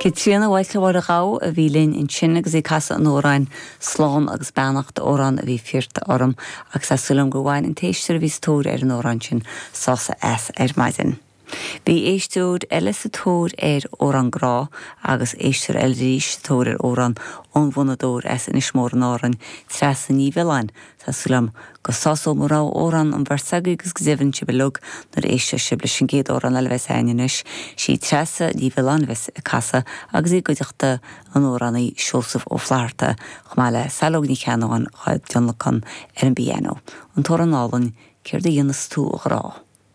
Caitríona Mhaidhcil Mháire Ghabha a bhí linn ansin agus í ag casadh an amhráin 'Slán agus Beannacht', amhrán a bhí firte orm agus tá súil agam gur bhain an t-éisteoir a bhí sa tóir ar an amhrán sin sásamh as ar maidin. Bhí éisteoir eile sa tóir ar amhrán grá agus éisteoir eile arís sa tóir ar amhrán ón bhfonnadóir as Inis Mór in Árainn, Treasa Ní Mhiolláin, Tá súil agam go sásóidh mo rogha amhrán an bheirt agaibh agus go deimhin sibh uilig nuair a éistfidh sibh leis an gcéad amhrán eile a bheas againn anois. Sí Treasa Ní Mhiolláin a bheas ag casadh agus í i gcuideachta an amhránaí Seosamh Ó Flatharta chomh maith le Saileog Ní Cheannabháin dhá dtionlacan ar an bpianó. An t-amhrán álainn 'Céard a dhéanfas tú a ghrá'.